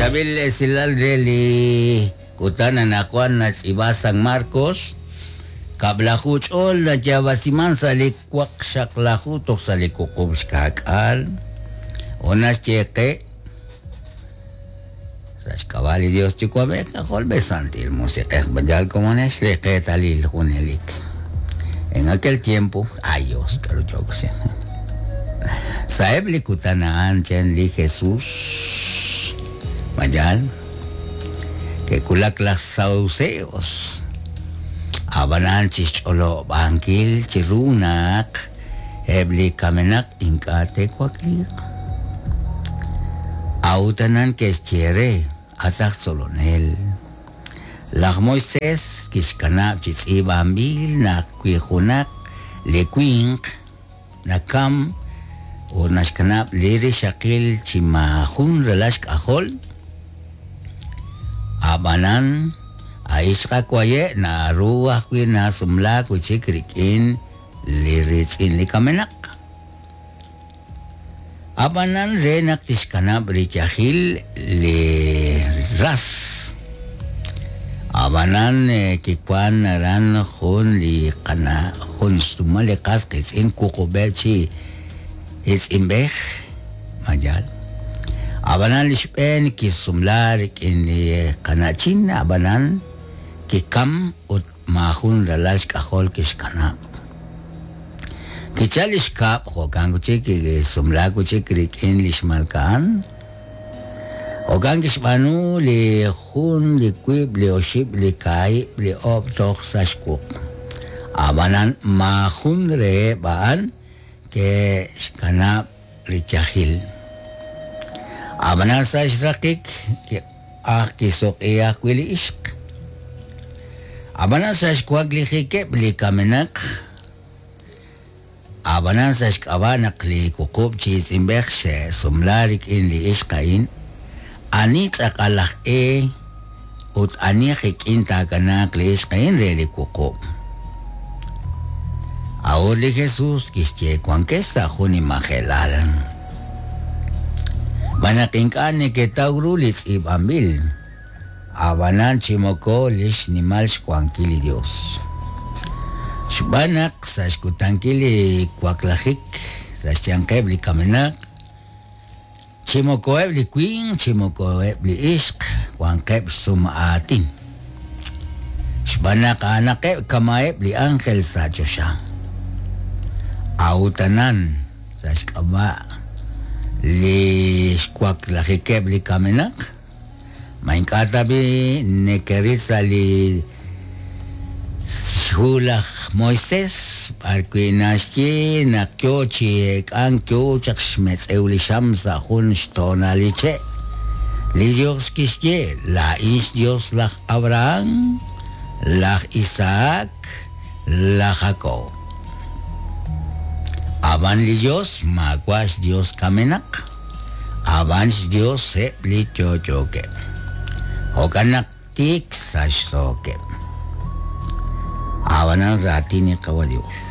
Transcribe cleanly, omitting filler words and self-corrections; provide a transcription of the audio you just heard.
Chaab'il esilal re li kutan anaqwan naxtz'iib'a San Marcos, kab'laju ch'ol nayaab'asiman sa' li waqxaqlaju toj sa' li wuqub' xka'k'aal, ut naxye qe, Sa' xk'ab'a' li Dios Yuwa'b'ej, K'ajolb'ej, Santil Musiq'ej, yal komonex li qeetalil junelik. En aquel tiempo, ay Dios, k'aru yook chi. Sa'eb' li kutan a'an chan li Jesús, ma yaal? Ke'wulak laj Saduceos, ab'anan chi xch'olob'ankil chiru naq eb' li kamenaq ink'a' te'wakliiq. A'ut a'an ke'xye re, At aj tzolonel, laj Moisés kixkanab' chi tz'iib'anb'il naq wi junaq li winq nakam ut naxkanab' li rixaqil chi maajun ralal xk'ajol, ab'anan a' ixq awaye' naru ajwi' nasumlaak wi' chik rik'in li riitz'in li kamenaq. Ab'anan re naq tixkanab' riyajil li ras. Ab'anan kiwank aran jun li qana' jun xsumal li qas qiitz'in wuqub'eb' chi iitz'inb'ej, ma yaal? Ab'anan li xb'een kisumla rik'in li qana'chin, ab'anan kikam ut maajun ralal xk'ajol kixkanab'. Kichal li xkab', jo'kan wi' chik kisumlaak wi' chik rik'in li xmalka'an. Jo'kan kixb'aanu li jun, li wiib', li oxib', li kaahib', li oob' toj sa' xwuq. Ab'anan maajun reheb' a'an ke'xkanab' riyajil. Ab'anan sa' xraqik kiq'aj kisuq'i ajwi' li ixq. Ab'anan sa' xwaklijikeb' li kamenaq, ab'anan sa' xk'ab'a' naq li wuqub' chi iitz'inb'ej xe'sumla rik'in li ixq a'in, ani tz'aqal aj e ut ani qik'in taakanaaq li ixq a'in re li wuqub'? A'ut li Jesús kixye, Wankex sa' jun nimajelal. Xb'aan naq ink'a' neketaw ru li tz'iib'anb'il, ab'anan chi moko li xnimal xwankil li Yos. Xb'aan naq sa' xkutankil li waklajik sa' xyanqeb' li kamenaq, Chi moko eb' li winq chi moko eb' li ixq wanqeb' xsum aatin, xb'aan naq a'anaqeb' kama'eb' li ánjel sa' choxa. A'ut anan, sa' xk'ab'a' li xwaklajikeb' li kamenaq, Ma ink'a' tab'i' nekeril sa' li xhu laj Moisés b'arwi' naxye naq yo chi eek'ank yo chaq xmetz'ew li xam sa' jun xtoonal li che'? Li Yos kixye, Laa'in xYos laj Abrahán, laj Isahak, laj Jakob. Ab'an li Yos maawa' xYos kamenaq. Ab'an xYos eb' li yo'yookeb'. Jo'kan naq tiik sachsookeb'. Ab'anan raatin li Qawa' Yos.